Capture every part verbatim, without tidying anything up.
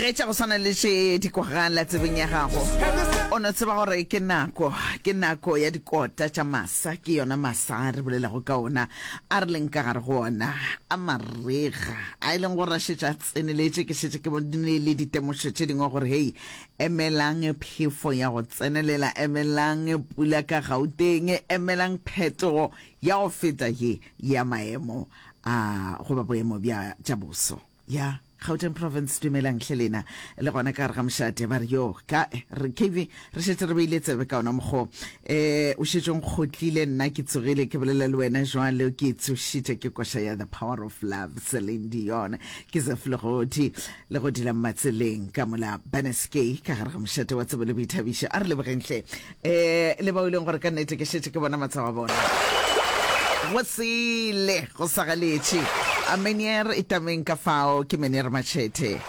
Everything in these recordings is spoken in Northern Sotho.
Ge tša go swana le tše di kwagala tsebeng ya gago, o no tseba gore ke nako, ke nako ya dikota tša masa. Ke yona masa a re bolelago ka ona, a re leng ka gare go ona, a marega, a e leng gore a šetše a tseneletše. Ke šetše ke bone le ditemošo tše dingwe gore, hei, emelang phefo ya go tsenelela, emelang pula ka Gauteng, emelang phetogo ya go feta ye ya maemo a goba boemo bja tša boso. Ya Gauteng Province, dumelang hle lena le gona ka gare ga mošate. Ba re yo ka re K V, re šetše re beile tsebe ka ona mokgo um o šetše o nkgotlile. Nna ke tsogile ke bolela le wena jwale, ke tsošitše ke koša ya The Power of Love, Celine Dion. Ke Zef Legodi le go dila Matseleng ka mola Beneskay ka gare ga mošate wa tsebo le boithabišo. A re lebogeng hle um le bao e leng gore ka nnete ke šetše ke bona matshwao a bona go sele go sa galetše. A Menier e tameng ka fao, ke Menier Machete.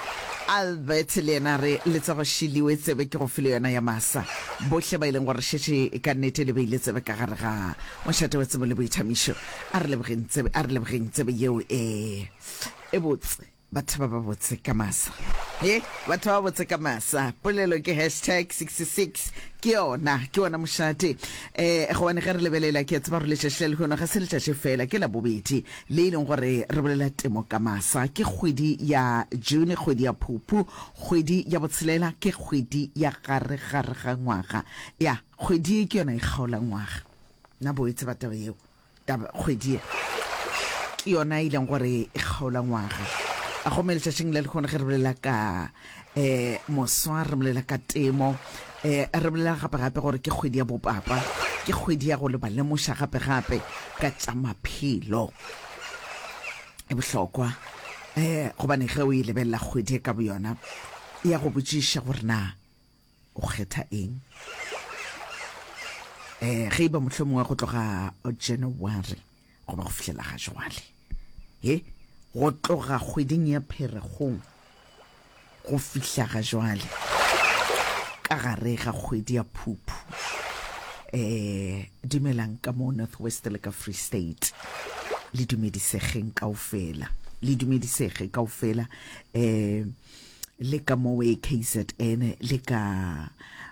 Albert le yena re letsogo šiliwe tsebe ke go file yona ya masa. Bohle ba e leng gore šetše ka nnete le beile tsebe ka gare ga mošate wa tsebo le boithabišo, a re lebogeng tsebe, a re lebogeng tsebe yeo e e botse. Batho ba ba botse ka masa, he batho ba botse ka masa. Polelo ke hashtag sixty-six, ke yona, ke yona mošate. um gobane ge re lebelela, ke a tseba gore letšatši la lehono ga se letšatši fela, ke la bobedi le e leng gore re bolela temo ka masa. Ke kgwedi ya June, kgwedi ya Phupu, kgwedi ya botshelela, ke kgwedi ya gare gare ga ngwaga. Ya kgwedi ye ke yona e kgaola ngwaga. Nna bo e tseba taba yeo, taba kgwedi ye ke yona e leng gore e kgaola ngwaga. A gomme letšatšing la lehono ge re bolela ka um moswa, re bolela ka temo, um re bolela gape-gape gore ke kgwedi ya bopapa, ke kgwedi ya go le ba lemoša gape-gape ka tša maphelo. E bohlokwa um gobane ge o e lebelela kgwedi e ka boyona, e ya go botšiša gore na o kgetha eng. um ge e ba mohlomongwe go tloga January goba go fihlela ga jwale, he go tloga kgweding ya Pherekgong go fihla ga jwale ka gare ga kgwedi ya Phuphu, um dumelang ka mo North West le ka Free State, le dumedisegeng kaofela, le dumedisege kaofela, um le ka mo K Z N le ka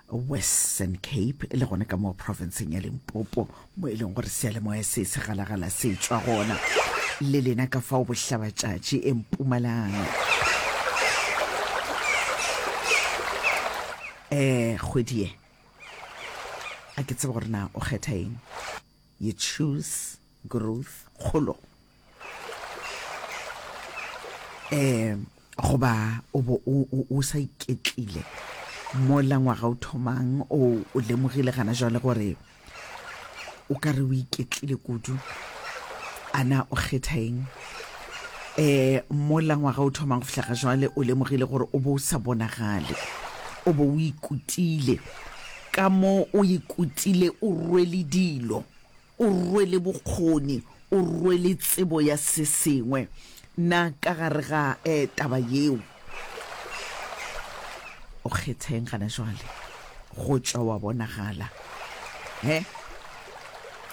Western Cape, le gona ka mo provinceng ya Limpopo mo e leng gore seyalemoya se se galagala se tšwa gona, le lena ka fao bohlabatšatši e Mpumalanga. um kgwedi ye a ke tsebe gore na o kgetha eng. You choose growth, kgolo, um goba o bo o, o, o sa iketlile mola ngwaga o thomang, o o lemogile gana jwale gore o ka re o iketlile kudu. Ana o kgetha eng? um mola ngwaga o thomang go fihla ga jwale, o lemogile gore o bo o sa bonagale, o bo o ikutile ka mo o ikutile, o rwele dilo, o rwele bokgoni, o rwele tsebo ya se sengwe. Na ka gare ga um taba yeo o kgetha eng gana jwale? Go tšwa wa bonagala he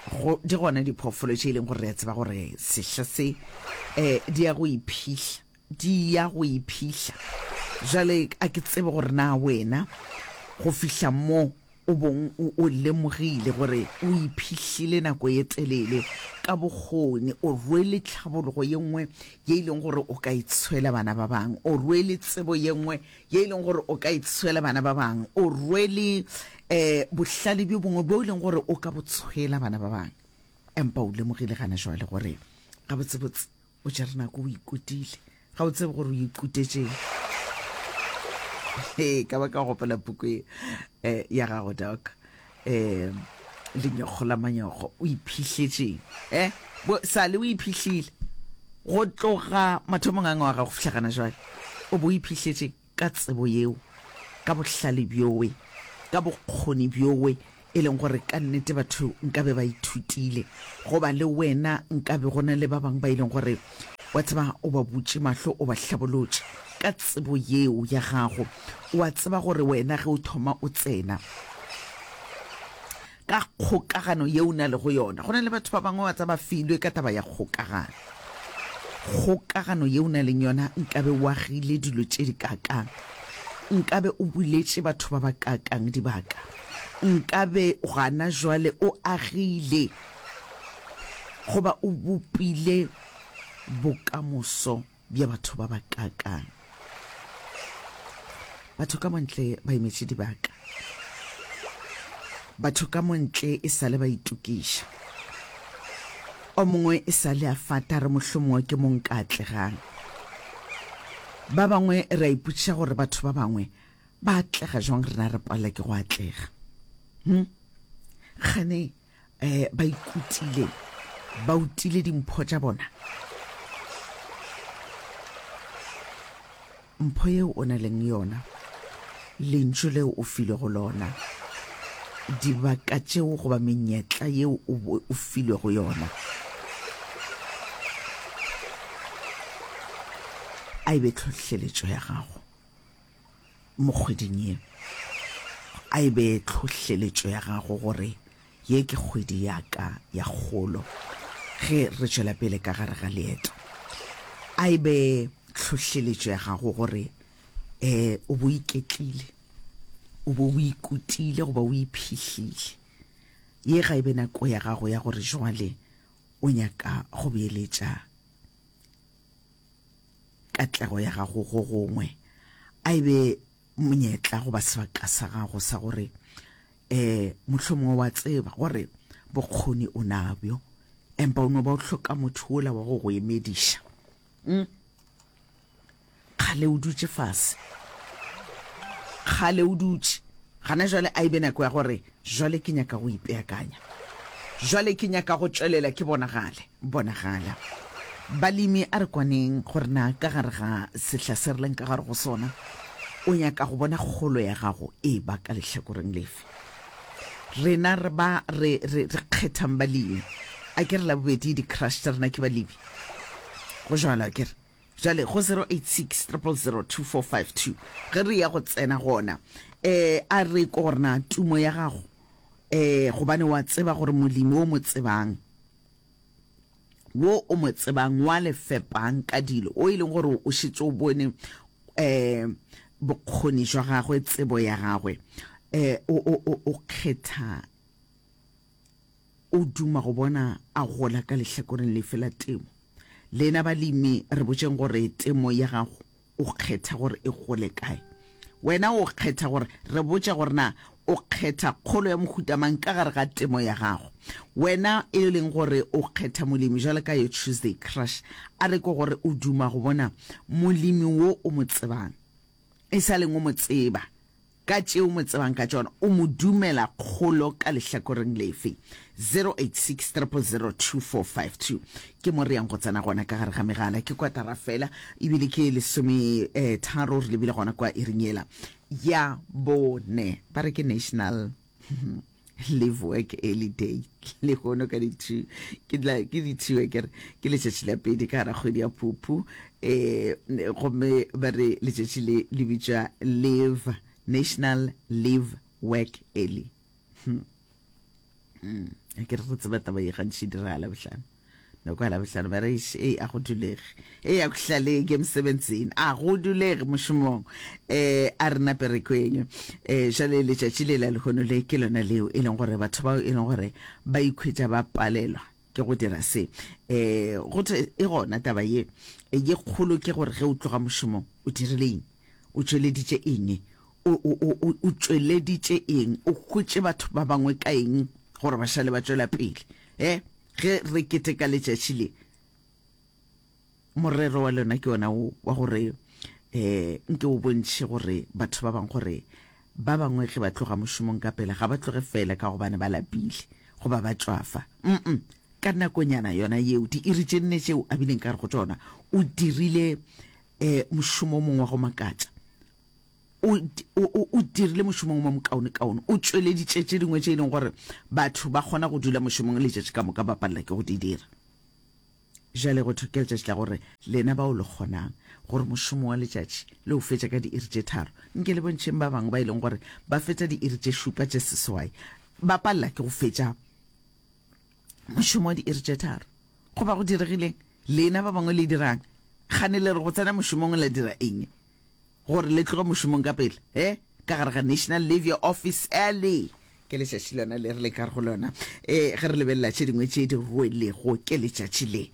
go di gona diphoofolo tše e leng gore re a tseba gore sehla se um di ya go iphihla, di ya go iphihla. Jwale a ke tsebe gore na wena go fihla mo o bong o o lemogile gore o iphihlile nako ye telele ka bokgoni, o rwele tlhabologo ye nngwe ye e leng gore o ka e tshwela bana ba bangwe, o rwele tsebo ye nngwe ye e leng gore o ka e tshwela bana ba bangwe, o rwele um bohlale bjo bongwe bjo e leng gore o ka bo tshwela bana ba bangwe, empa o lemogile gana jwale gore gabotsebotse o tšere nako o ikutile, ga o tsebe gore o ikutetšeng. Ee, ka ba ka gopola puku e eh, ya gago doc, um Lenyokgo la Manyokgo. O iphihletšeng? eh bo sale o iphihlile go tloga mathomong a ngwaga go fihla gana jwale, o bo o iphihletšeng ka tsebo yeo, ka bohlale bjowe, ka bokgoni bjowe e leng gore ka nnete batho nkabe ba ithutile, goba le wena nkabe go na le ba bangwe ba e leng gore wa tseba o ba butše mahlo, o ba hlabolotše ka tsebo yeo ya gago. O a tseba gore wena ge o thoma o tsena ka kgokagano yeo o na le go yona, go na le batho ba bangwe wa tseba filwe ka taba ya kgokagano, kgokagano yeo o na leng yona nkabe o agile dilo tše di kakang. Nkabe o buletše batho ba ba kaakang dibaka? Nkabe gana jwale o agile goba o bopile bokamoso bja batho ba ba kaakang? Batho ka montle ba emetše dibaka. Batho ka montle e sa le ba itokiša. O mongwe e sa le a fata re mohlomongwe ke mo nka atlegang. Ba bangwe re a ipotšiša gore batho ba bangwe ba atlega jwang rena re palela ke go atlega. Hm? Kgane eh, ba ikutile, ba utile dimpho tša bona. Mpho yeo o na leng yona, lentšu leo o filwego lona, dibaka tšeo goba menyetla yeo o, o filwego yona, a e be tlhohleletšo ya gago mo kgweding ye. A e be tlhohleletšo ya gago gore ye ke kgwedi ya ka ya kgolo ge re tšwela pele ka gare ga leeto. A e be tlhohleletšo ya gago gore um o bo iketlile, o bo o ikutile goba o iphihlile. Ye ga e be nako ya gago ya gore jwale o nyaka go beeletša katlego ya gago go gongwe. A e be monyetla goba sebaka sa gago sa gore um mohlomongwe wa tseba gore bokgoni o nabjo, empa o no ba o hloka motho wola wa go go emediša. Mm. Kgale o dutše fase, kgale o dutše, gana jwale a e be nako ya gore jwale ke nyaka go ipeakanya, jwale ke nyaka go tšwelela ke bonagale, bonagala. Balemi a re kwaneng gore na ka gare ga sehla se re leng ka gare go sona, o nyaka go bona kgolo ya gago e ba ka lehlakoreng lefe. Rena re ba re, re, re kgethang balemi. A ke re la bobedi di-crush tša rena ke balemi. Go jwalo a ke re? Jwale go zero eight six triple zero two four five two ge re ya go tsena gona, eh, a re ko gore na tumo ya gago, eh, gobane wa tseba gore molemi o mo tsebang, wo o mo tsebang wa le fepang ka dilo, o e leng gore o šetše o bone eh bokgoni jwa gagwe, tsebo ya gagwe, eh o, o, o, o kgetha, o duma go bona a gola ka lehlakoreng lefe la temo. Lena balemi re botšeng gore temo ya gago o kgetha gore e gole kae. Wena o kgetha gore, re botše gore na o kgetha kgolo ya mohuta mang ka gare ga temo ya gago. Wena e leng gore o kgetha molemi jwalo ka yo Tuesday Crush, a re ke gore o duma go bona molemi wo o mo tsebang, e sa leng o mo tseba, ka tše o mo tsebang ka tšona, o mo dumela kgolo ka lehlakoreng lefe. zero eight six triple zero two four five two ke mo re yang go tsena gona ka gare ga megala. Ke kwatara fela ebile ke lesome eh, tharo re lebile gona kwa iring yela ya bone. Ba re ke National Live Work Early Day lehono ka di two, ke tla, ke di two ke re ke letšatši la pedi ka gara kgwedi ya Phuphu, eh, gomme ba re letšatši le le bitšwa Live National Live Work Early. Hmm. Mm. Ke re go tseba taba ye gantši diragala Labohlano. Nako ya Labohlano ba re eish, ei a go dulege, ei a go hlalege mosebenzini, a go dulege mošomong, eh a re nape re kweng. Eh jale letšatši le la lehono le ke lona leo e leng gore batho bao e leng gore ba ikhwetša ba palelwa ke go dira se. Eh go thwe e gona taba ye ye kgolo ke gore ge o tloga mošomong o dirile eng, o tšweleditše eng, o, o, o, o, o tšweleditše eng, o hwetše batho ba bangwe ka eng gore ba šale ba tšwela pele. Eh ge re keteka letšatši le, morero wa lona ke ona wo wa gore eh nke o bontšhe gore batho ba bangwe gore ba bangwe ge ba tloga mošomong ka pela ga ba tloge fela ka gobane ba lapile goba ba tšwafa. Mm-mm. Ka nakonyana yona yeo, diiri tše nne tšeo a bileng ka gare go tšona, o dirile eh mošomo o mongwe wa go makatša. O, o, o, o dirile mošomo o mokaonekaone. O tšweleditše tše dingwe tše e leng gore batho ba kgona go dula mošomong letšatši ka moka ba palela ke go di dira. Bjale go thwe ke letšatši la gore lena bao le kgonang gore mošomo wa letšatši le o fetša ka diiri tše tharo, nke le bontšheng ba bangwe ba e leng gore ba fetša diiri tše šupa tše seswai ba palela ke go fetša mošomo wa diiri tše tharo. Goba go diregileng? Lena ba bangwe le dirang? Kgane le re go tsena mošomong la dira eng? Gore le tloge mošomong ka pele, he, ka gare ga National Leave Your Office Early. Ke letšatši lona le re le ka go lona. E, ge re lebelela tše dingwe tše di rwelego ke letšatši le.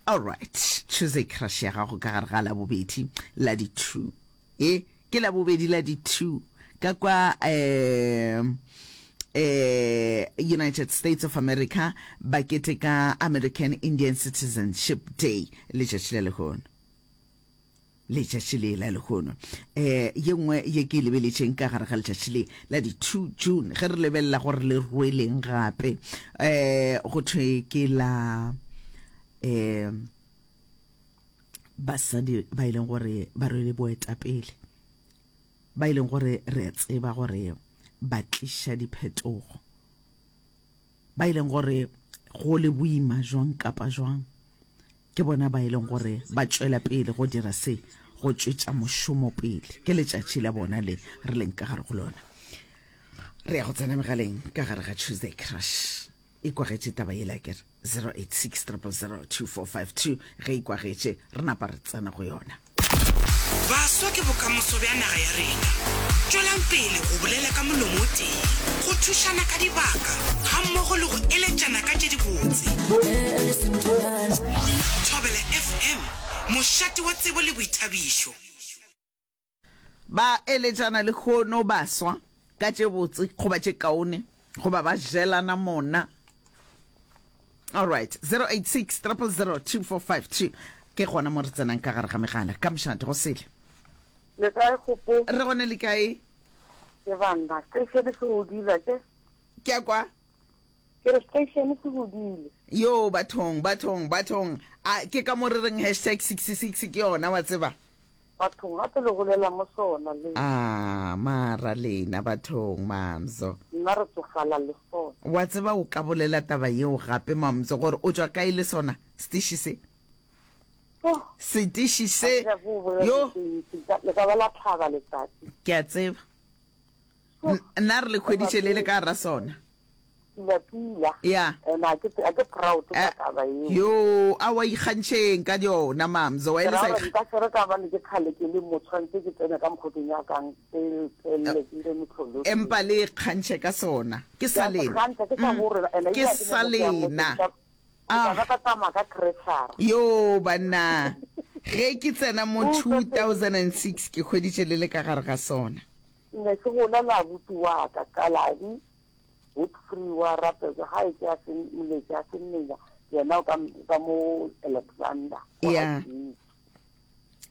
Alright, Tuesday Crush ya gago ka gare ga Labobedi la di two. E, ke Labobedi la di two ka kwa um eh United States of America ba keteka American Indian Citizenship Day letšatši la lehono. Letšatši le la lehono. Um ye nngwe ye ke e lebeletšeng ka gare ga letšatši le la di two June, ge re lebelela gore le rweleng gape, um go thwe ke la um basadi ba e leng gore ba rwele boetapele, ba e leng gore re a tseba gore ba tliša diphetogo, ba e leng gore go le boima jwang kapa jwang, ke bona ba e leng gore ba tšwela pele go dira se, go tšwetša mošomo pele. Ke letšatši la bona le re leng ka gare go lona. Re ya go tsena megaleng ka gare ga Tuesday Crush. E kwagetše taba yela ke re zero eight six triple zero two four five two, ge e kwagetše re napa re tsena go yona. Baswa ke bokamoso bja naga ya rena. Tšwelang pele go bolela ka molomo o tee, go thušana ka dibaka gammogo le go eletšana ka tše dibotse. Thobela F M, mošate wa tsebo le boithabišo. Ba eletšana lehono baswa ka tše botse goba tše kaone goba ba jelana mona. Alright, zero eight six triple zero two four five two ke gona mo re tsenang ka gare ga megala. Ka mošate go sele. Le kae Kgopo? Re gone, le kae? Ke banna, station se godile ke. Ke a kwa. Ke re station se godile. Yo bathong, bathong, bathong. A ke ka mo re reng hashtag sixty-six ke yona wa tseba. Bathong gape le golela mo sona le. Ah, mara lena bathong mamzo. Nna re tsofala le sona. Wa tseba o ka bolela taba yeo gape mamzo gore o tšwa kae le sona setiši se. Oh. Setiši se. Ga ke nyake go bolela Yo. dilo tse ntši, ka-, le ka ba la tlhaba letsatsi. Ke a tseba. Oh. N-, nna re le hweditše le le ka gara sona. Pila, pila. Ya. And a ke, a ke proud ka Eh, taba eo. Yo, a wa ikgantšheng ka yona, mamzo, wa Ke e le ra sa gore ikga- nka se re ka bane ke kgale ke le mo, tshwanetse ke tsene ka mokgo ke nyakang, ke tswelele ke dire mehlolo. Empa le ikgantšhe ka sona. Ke sa Ke a se lena. kgantšha, ke sa Mm. gore, and Ke ebile ha ke sa nyake go ya mo, lena. ke tla, ke tla Ah. ba ka tsamaya ka crusher. Yo, banna. Ge ke tsena mo O two tswetse- thousand and six, ke hweditše le le ka gare ga sona. Ne ke gola le abuti wa ka, Kaladi, Godfrey wa Rapetswa, ga e ke a se moletši, a se mmenya, yena o ka, ka mo Alexander, wa Yeah. Jesu.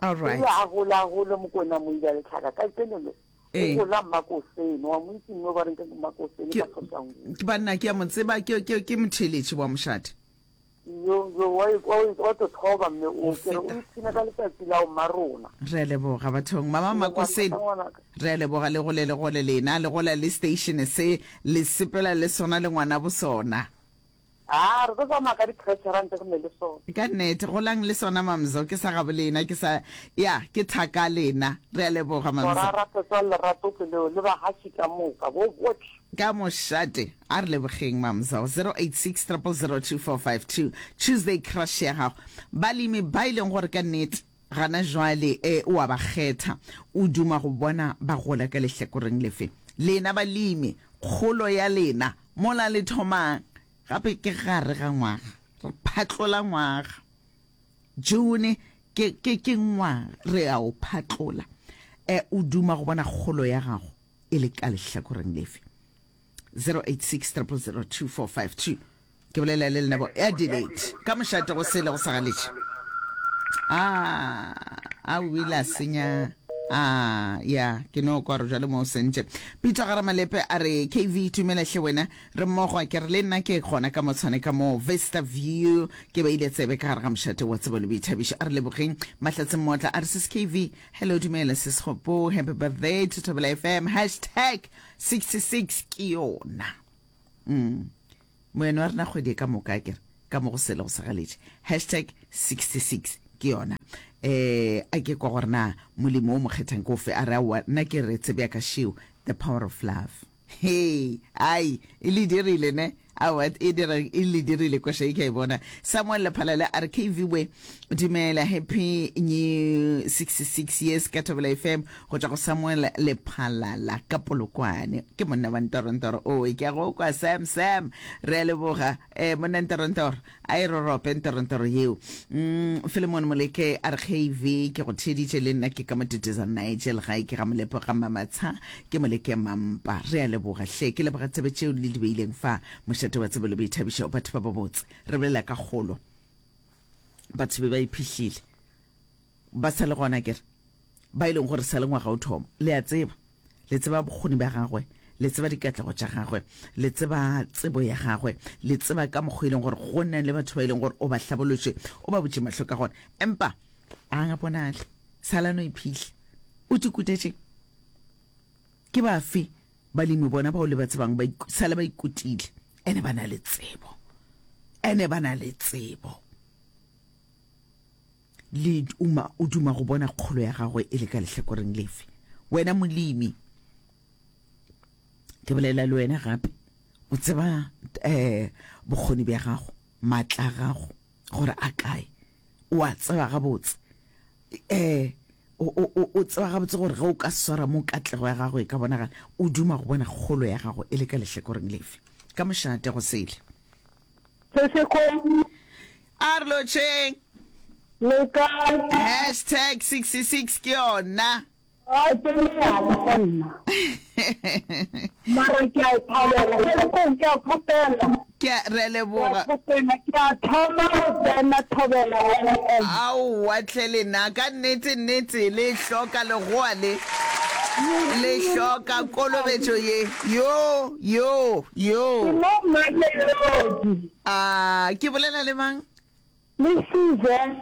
All right. Ebile a gola, a gole Mokwena Moila Letlhaka, ka tseno le, o Ee. gola Mmakosene, wa mo itse mme ba reng ke Mmakosene Ke- ka Sotangwe. Ke banna, ke a mo tseba, ke, ke, ke motheeletši wa mošate. Yo, yo, wa e, wa e, wa tlo thoba mme o, Go ke re o feta. ipshina ka letsatsi la o mmarona. Re a leboga bathong. Mama Ke leboga Makosene, ngwanaka. re a leboga le gole le gole lena, le gola le station se, le sepela le sona le ngwana bo sona. Ah, re tlo tsamaya ka di-pressure ntse re ne le sona. Ka nnete, golang le sona mamzo, ke sa gabo lena, ke sa, ya, ke thaka lena. Re a leboga mamzo. Tora Rapetswa lerato ke leo, le bahaši ka moka, bo botlhe. Ka mošate, a re lebogeng mamzo. zero eight six triple zero two four five two. Tuesday Crush ya gago. Balemi ba e leng gore ka nnete gana jwale, eh, o a ba kgetha, o duma go bona ba gola ka lehlakoreng lefe. Lena balemi, kgolo ya lena mola le thomang gape ke gare ga ngwaga, re phatlola ngwaga. June ke, ke, ke ngwaga re a o phatlola. Eh, o duma go bona kgolo ya gago e le ka lehlakoreng lefe. zero eight six triple zero two four five two. Ke bolela le lena bo Adelaide. Ka mošate go sele go sa galetše. Ah, a o ile a senya. Ah, ya, ke no kwa re jwale mo o sentše. Peter Garamalepe a re, K V, tumela hle wena, re mmogo, ke re le nna ke gona ka motshwane ka mo Vista View, ke beile tsebe ka gare ga mošate wa tsebo le boithabišo. A re lebogeng Mahlatse Mmotla a re, sis K V, hello, dumela sis Kgopo, happy birthday to Thobela F M, hashtag sixty-six ke yona. Mm. Moeno wa rena kgwedi e ka moka, ke re, ka mo go sele go sa galetše. Hashtag sixty-six ke yona. Eh, a ke kwa gore na molemo o mo kgethang ke ofe, a re aowa, nna ke re tsebe ya ka šeo, the power of love. Hey, ai, e le dirile ne, Aowa, e dira, e le dirile koša e ke a e bona. Samuel Lephalale a re, K V we, dumela, happy new sixty-six years ka Thobela F M, go tšwa go Samuel Lephalala ka Polokwane. Ke monna wa Ntorontoro. Owe, ke a go kwa, Sam, Sam. Re a leboga, eh, monna Ntorontoro. A e rorope Ntorontoro yeo. Mm, Philemon Moleke a re, K V, ke go theeditše le nna ke ka Moteteza Nigel, gae ke ga Molepo ga Mamatsha, ke Moleke Mampa. Re a leboga hle. Ke leboga tsebe tšeo le di beileng fa mošate wa tsebo le boithabišo. Batho ba babotse, re bolela ka kgolo. Batho be ba iphihlile. Ba sa le gona kere. Ba e leng gore sa le ngwaga o thoma. Le a tseba. Le tseba bokgoni bja gagwe. Le tseba dikatlego tša gagwe. Le tseba tsebo ya gagwe. Le tseba ka mokgwa e leng gore go na le batho ba e leng gore o ba hlabolotše, o ba butše mahlo ka gona. Empa a bonale. Sala no iphihla. O tikutetše. Ke bafe balemi bona bao le ba tsebang ba sale ba ikutile ene ba na le tsebo, ene ba na le tsebo le uma o duma go bona kgolo ya gagwe e le ka lehlakoreng lefe? Wena molemi, ke bolela le wena gape, o tseba um bokgoni bja gago, maatla a gago gore a kae, o a tseba gabotse, um o, o, o tseba gabotse gore ge o ka swara mo katlego ya gago e ka bonagala. O duma go bona kgolo ya gago e le ka lehlakoreng lefe? Ka mošate go sele. Seseko. A re lotšheng. Le kae? Hashtag sixty-six ke yona. A ke nnyane go nna. Mara ke a e thabela. Seseko, ke a kgopela. Ke a re leboga. Ke a kgopela, ke a thoma go tsena Thobela F M. Aowa hle lena, ka nnete nnete le hloka legoa le. Le hloka kolobetšo ye. Yo, yo, yo. Ke mo Mamelodi. A ke bolela le mang? Le Suzan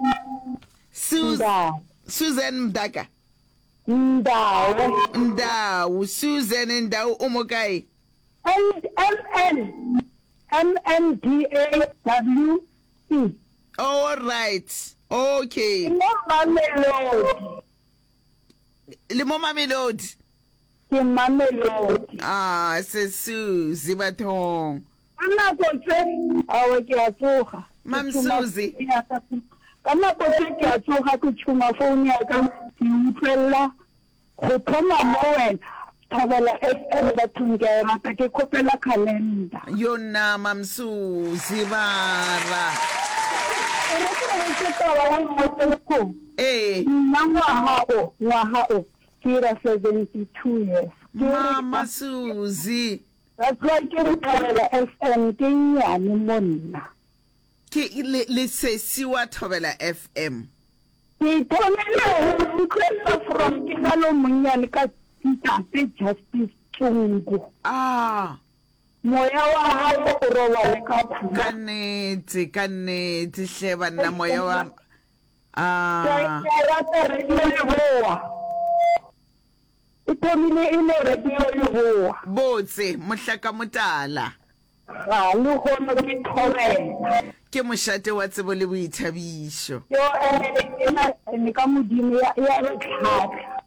Suz Ndau. Suzan Mdaka. Ndau. Ndau, Suzan Ndau o mo kae? N M N M N D A W E. All right. Okay. Ke mo Mamelodi. Le mo Mamelodi. Ke Mamelodi. Ah, se Suzy bathong. Ka nako tse, aowa ke a tsoga. Mam Ke tšhuma Suzy. phone ya ka. Ka nako tse ke a tsoga ke tšhuma phone ya ka ke utlwelela go thoma mo wena Thobela F M bathong ke a e rata ke kgopela calendar. Yo nna Mam Suzy bara. E re ke go botše taba ye nngwe Sesco. Ee. Nna ngwaga o, ngwaga o ke ira seventy two years. Ke re Mama Suzy. That's why ke re Thobela F M ke nnyane mo nna. Ke le, le sesi wa Thobela F M. Ke ithomile go utlwelela from ke sa le monnyane ka Ntate Justice Tsungu. Ah. Moya wa gago o robale ka khutšo. Ka nnete, ka nnete hle banna, moya wa ah. Ke a rata Radio Leboa. E thomile e le Radio Leboa. Botse, mohlaka motala. Ga lehono ke thobela. Ke mošate wa tsebo le boithabišo. Yo ene ena ene ka Modimo ya ya re tlhahla.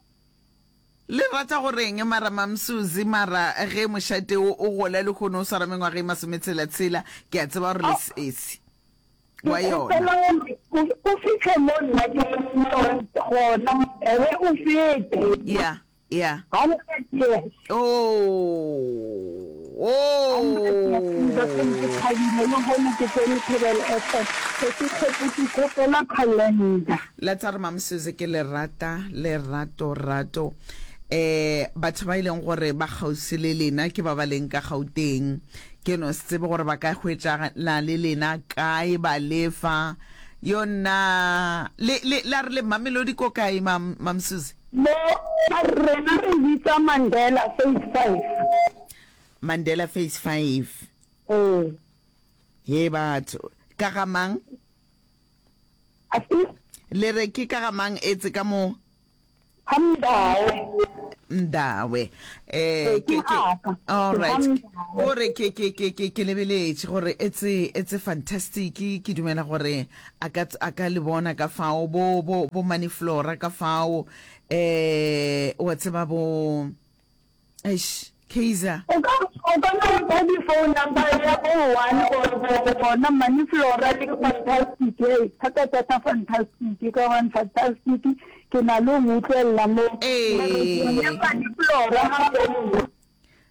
Le rata go reng mara Mamsuzi mara ge mošate wo o gola lehono o swara mengwaga e masometshela tshela ke a tseba gore le sesi Ke wa yona. kgopela gore o o fihle mo nna ke leng gona ebe o fete. Ya ya. Hundred years. Oh oh. Hundred years ntate ke thabile lehono ke tsene Thobela F M se ke kgopotše kgopela calendar. La tsa re Mamsuzi ke le rata lerato rato eh batho ba e leng gore ba kgauswi le lena ke ba ba leng ka Gauteng ke no se tsebe gore ba ka hwetšana le lena kae ba lefa yo nna le le la re le Mamelodi ko kae Mam Mamsuzi? Mo rena re bitsa Mandela phase five. Mandela phase five. Ee. He batho ka ga mang? Afe? Le re ke ka ga mang etse ka mo? Ga Mdawe. Mdawe. Eh Ee, ke ke ke gaka. all Ke ga right. Mdawe. Gore ke ke ke ke ke lebeletše gore it's it's fantastic ke dumela gore a ka a ka le bona ka fao bo bo bo Money Flora ka fao eh wa tseba bo eish Kaizer. O ka o O ka no mpha di phone number ya bo one or bo bona Mani Flora le Fantastic hei thata thata Fantastic ka gobane Fantastic ke na le go mo utlwelela mo Ee. ya Mani Flora ga founa.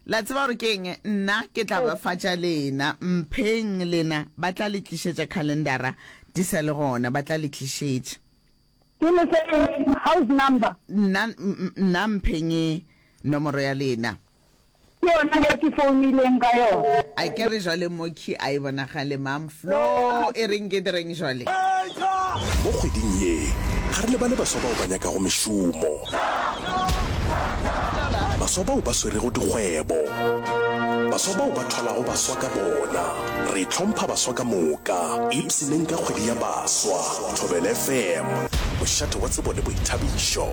La tseba gore ke eng? Nna ke tla ba fa tša lena. Mpheng lena, ba tla le tlišetša khalendara di sa le gona, ba tla le tlišetša. Ke le fe eng? House number? Nna, nna mpheng nomoro ya lena. Ke yona e ke founileng ka yona. A ke re jwale Moki a e bonagale Mam Flo e reng ke direng jwale? Mo kgweding ye, ga re lebale baswa bao ba nyakago mešomo, baswa bao ba swerego dikgwebo, baswa bao ba thwalago baswa ka bona. Re hlompha baswa ka moka. Ipshineng ka kgwedi ya baswa. Thobela F M, mošate wa tsebo le boithabišo.